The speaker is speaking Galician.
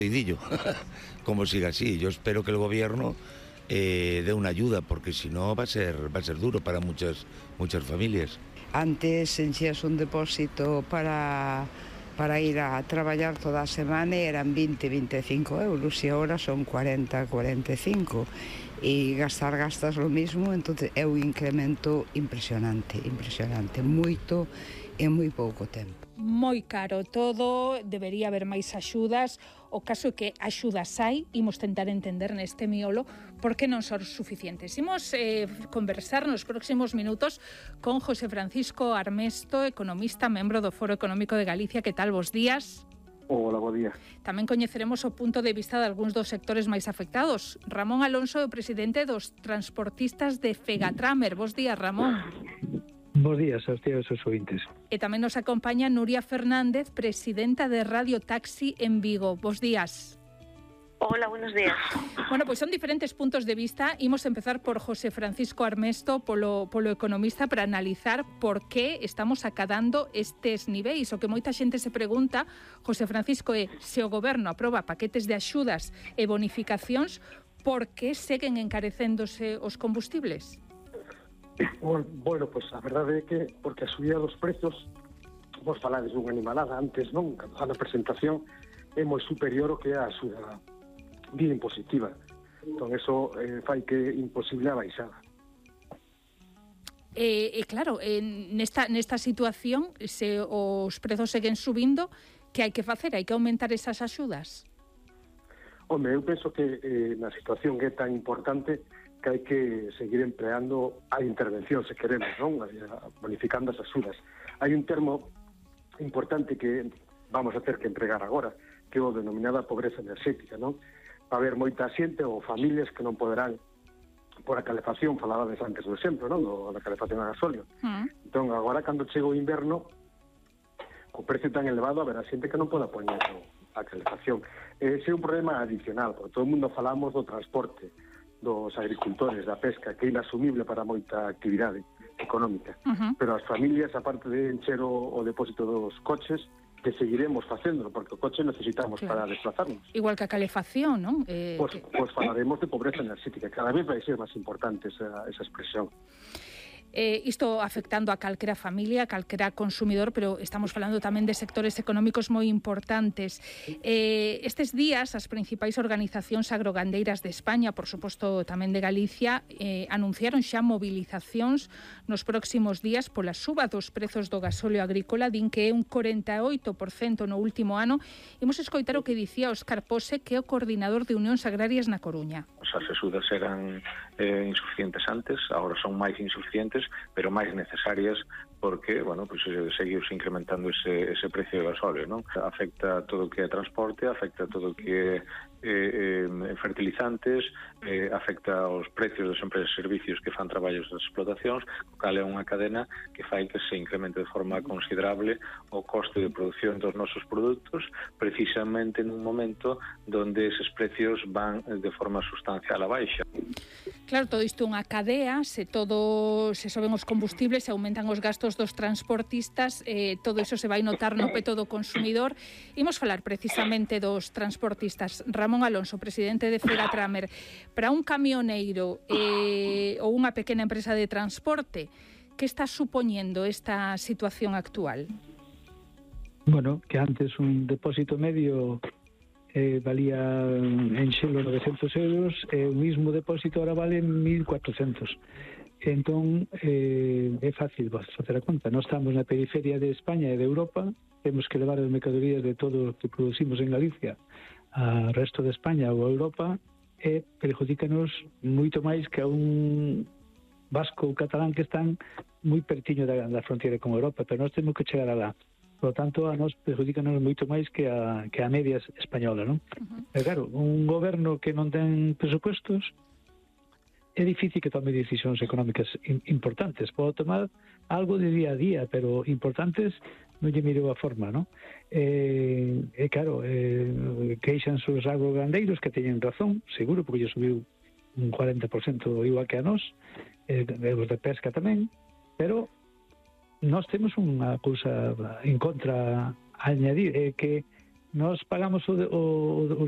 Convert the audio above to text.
Sencillo, como siga así. Yo espero que el gobierno dé una ayuda, porque si no va a ser duro para muchas familias. Antes enchías un depósito para ir a traballar toda a semana e eran 20-25 euros e agora son 40-45 e gastas lo mismo, entonces é un incremento impresionante, moito en moi pouco tempo. Moi caro todo, debería haber máis axudas. O caso é que axudas hai, imos tentar entender neste miolo por que non son suficientes. Imos conversar nos próximos minutos con José Francisco Armesto, economista, membro do Foro Económico de Galicia. Que tal, bos días? Hola, bo día. Tamén coñeceremos o punto de vista de algúns dos sectores máis afectados. Ramón Alonso, o presidente dos transportistas de Fegatramer. Bos días, Ramón. Bos días aos tíos e aos ouvintes. E tamén nos acompaña Nuria Fernández, presidenta de Radio Taxi en Vigo. Bos días. Hola, buenos días. Bueno, pois son diferentes puntos de vista. Imos empezar por José Francisco Armesto, polo economista, para analizar por que estamos acadando estes niveis. O que moita xente se pregunta, José Francisco, é se o goberno aproba paquetes de axudas e bonificacións, por que seguen encarecéndose os combustibles? Bueno, pues a verdade é que porque a subida dos prezos, vos falades dunha animalada antes, non? A na presentación é moi superior ao que é a axuda vía impositiva. Entón, eso fai que é imposible a baixada. Claro, nesta situación, se os prezos seguen subindo, que hai que facer? Hai que aumentar esas axudas? Home, eu penso que na situación que é tan importante que hai que seguir empleando a intervención, se queremos, non? Bonificando as axudas. Hai un termo importante que vamos a ter que empregar agora, que é o denominada pobreza enerxética, non? Va haber moita xente ou familias que non poderán, por a calefacción, falabades antes do exemplo, non? Da calefacción a gasóleo. Entón, agora, cando chega o inverno, co precio tan elevado, haberá xente que non poda poñer a calefacción. Ese é un problema adicional, porque todo o mundo falamos do transporte, dos agricultores, da pesca, que é inasumible para moita actividade económica. Pero as familias, aparte de encher o depósito dos coches, que seguiremos facéndolo, porque o coche necesitamos para desplazarnos. Igual que a calefacción, non? Pois falaremos de pobreza enerxética. Cada vez vai ser máis importante esa expresión. Isto afectando a calquera familia, a calquera consumidor, pero estamos falando tamén de sectores económicos moi importantes. Estes días, as principais organizacións agrogandeiras de España, por suposto tamén de Galicia, anunciaron xa movilizacións nos próximos días pola suba dos prezos do gasóleo agrícola, din que é un 48% no último ano. Imos escoitar o que dicía Óscar Pose, que é o coordinador de Unións Agrarias na Coruña. As axudas eran insuficientes antes, agora son máis insuficientes, pero máis necesarias porque, bueno, pues seguiu incrementando ese precio do gasóleo, non? Afecta todo o que é transporte, afecta todo o que é fertilizantes, afecta aos precios das empresas de servicios que fan traballos das explotacións, o cal é unha cadena que fai que se incremente de forma considerable o coste de produción dos nosos produtos, precisamente nun momento donde eses precios van de forma sustancial a baixa. Claro, todo isto é unha cadea, se soben os combustibles, se aumentan os gastos dos transportistas, todo iso se vai notar no peto do consumidor. Imos falar precisamente dos transportistas. Ramón Alonso, presidente de Fegatramer, para un camioneiro ou unha pequena empresa de transporte, que está supoñendo esta situación actual? Bueno, que antes un depósito medio valía en xelo 900 euros, o mismo depósito ahora vale 1.400. Entón, é fácil facer a conta. Nós estamos na periferia de España e de Europa, temos que levar as mercadorías de todo o que producimos en Galicia ao resto de España ou a Europa, e perjudícanos moito máis que a un vasco ou catalán que están moi pertiño da fronteira con Europa, pero nós temos que chegar alá. Por lo tanto, a nos perjudícanos moito máis que a media española, non? Pero claro, un goberno que non ten presupuestos é difícil que tome decisións económicas importantes. Pode tomar algo de día a día, pero importantes non lle mirou a forma, non? Claro, queixan os agrogandeiros que teñen razón, seguro, porque lle subiu un 40% igual que a nos, os de pesca tamén, pero nós temos unha cousa en contra a añadir, que Nós pagamos o